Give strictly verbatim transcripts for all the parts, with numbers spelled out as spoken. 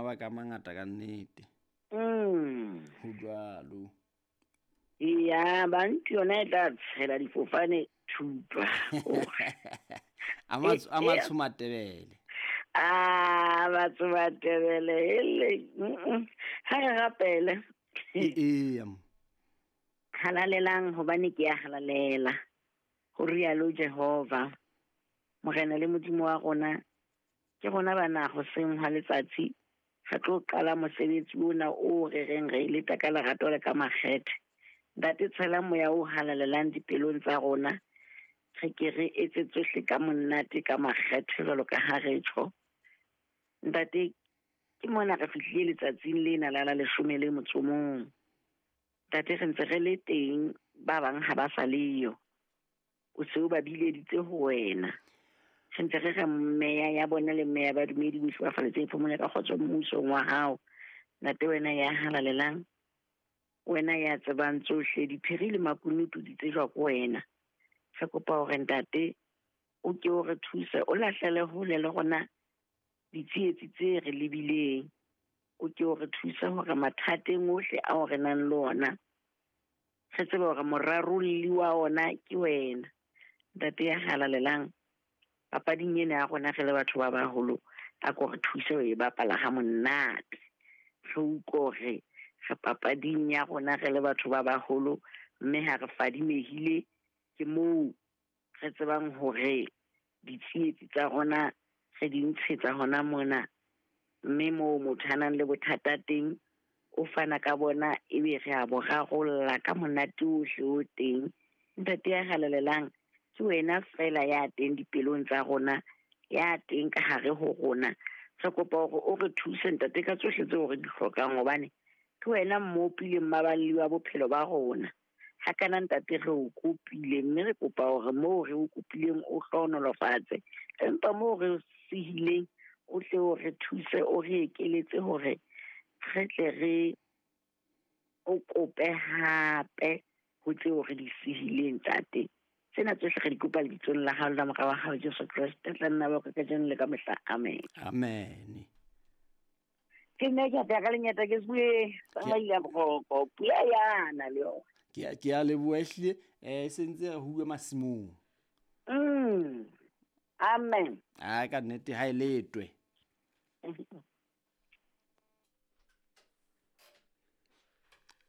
mabaka a mangata ka nnete. Mm. Ho jwalo. Ya bantu yona e tla tshela difofane thupa. A matsho a matsho Matebele. Ah, batho Matebele ele. Ha re rapele. Ee. Halalelang hobane ke ya halalela. Ho rialo Jehova. Morena le Modimo wa rona ke rona bana go seng ha letsatsi re tlo qala mosebetsi ona o re reng re leta ka lerato le ka makgethe. Ntate tshela moya o halalelang dipelong tsa rona re ke re etse tsohle ka monate ka makgethe jwalo ka ha re tjho. Ntate ke mona re fihlile letsatsing lena la la leshome le motso mong. Ntate re ntse re le teng ba bang ha ba sa leyo. O se o ba bileditse ho wena. Re ntse re re meya ya bona le meya ba dumedi bohle ba faletse phomolo ka kgotso mmusong wa hao. Ntate wena ya halalelang, wena ya tsebang tsohle diphiri le makunutu di tsejwa ke wena. Re kopa hore ntate o ke o re thuse o lahlele hole le rona ditsietsi tse re lebileng. O ke o re thuse hore mathateng ohle ao re nang le ona re tsebe hore morarolli wa ona ke wena. Ntate ya halalelang, papading ena ya rona re le batho ba baholo a ko re thuse ho e bapala ha monate. Re utlwe hore re papading ya rona re le batho ba baholo mme ha re fadimehile ke moo re tsebang hore ditsietsi tsa rona re di ntshetsa hona mona mme moo motho a nang le bothata teng o fana ka bona ebe re a bo rarolla ka monate ohle o teng. Ntate ya halalelang ke wena fela ya teng dipelong tsa rona, ya teng ka hare ho rona. Re kopa hore o re thuse ntate ka tsohle tseo re di hlokang hobane ke wena mmopi le mmaballi wa bophelo ba rona. Ha kana ntate re o kopile mme re kopa hore moo re o kopileng o hlohonolofatse, empa moo re sehileng o tle o re thuse o re ekeletse hore re tle re o kope hape ho tseo re di sehileng ntate. Tsena tsohle re di kopa lebitsong la hao la Mora wa hao Jesu Kreste tla nna ba ka kajeno le ka mehla. Amen. Amen. Ke nne ke apea ka lenyata ke bue tsamaile boroko pula yana le yona. Ke ke a leboha ehlile eh se ntse re huwe masimong. Mm. Amen. Ah ka nnete ha e letwe.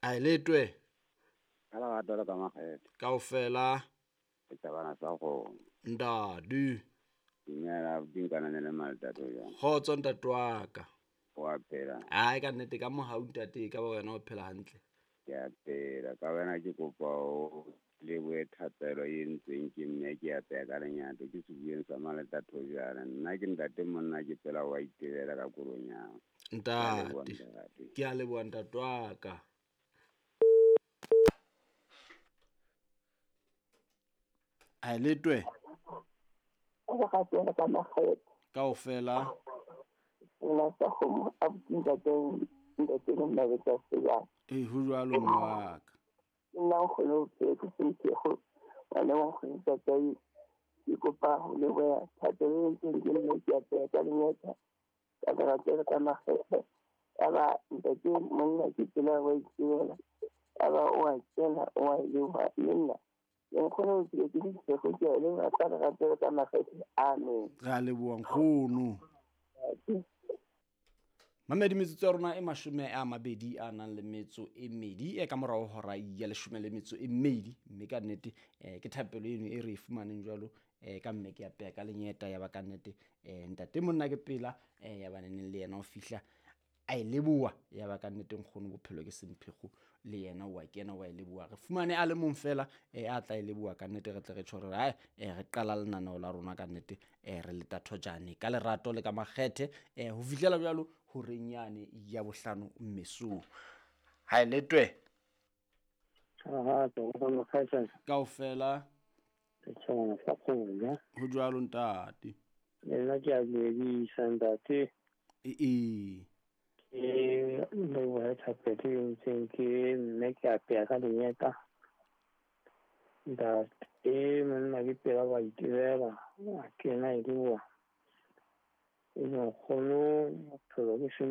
A e letwe. Ka lerato le ka makgethe. Kaofela. Ke tabana sa go. Ndadu. Dumela dinkana le maltato jwang. Kgotso ntate wa ka. O a phela. Ai ka nnete ka mohau ntate ka ba wena o phela hantle. Ke a phela ka wena ke kopa o lebohe thapelo e entsweng ke mme ke apeya ka lenyata ke sebueng sa maletato jana. Nna ke ntate monna ke phela wa itebela ka kolonyana. Ntate. Ke a leboha ntate wa ka. A letwe. O ga tsena ka makgethe. Kaofela. Nna sa go a ntate ntate nna le tsa se. E ho jwalo mma ka. Nna go lo ke ke se go wena wa go ntate ke kopa ho leboha thapelo e entsweng ke mme ke apeya ka lenyata ka lerato ka makgethe. Aba ntate monna ke tsela wa itebela. Aba o a kena o a leboha le nna. Nkgono o ke ke se go ke le ka lerato ka makgethe. Amen. Re a leboha nkgono. Mamedi metsotso ya rona e mashome a mabedi a nang le metso e mmedi e ka morao hora ya leshome le metso e mmedi mme ka nnete eh ke thapelo eno e re e fumaneng jwalo eh ka mme ke apeya ka lenyeta ya ba ka nnete eh ntate monna ke pela eh ya ba neneng le yena o fihla a e leboha ya ba ka nnete nkgono bophelo ke semphego le yena wa kena wa e leboha re fumane a le mong fela eh a tla e leboha ka nnete re tle re tjho re ai eh re qala lenaneo la rona ka nnete eh re leta thojane ka lerato le ka makgethe eh ho fihlela jwalo horeng yane ya bohlano mesong. Ha e letwe. Ha ha Kaofela. Ho jwalo ntate. Le nna ke a dumedisa ntate. Ee. Ke leboha thapelo e entsweng ke mme ke apeya ka lenyata. Ntate monna ke pela wa itebela a kena e leboha. E nkgono bophelo ke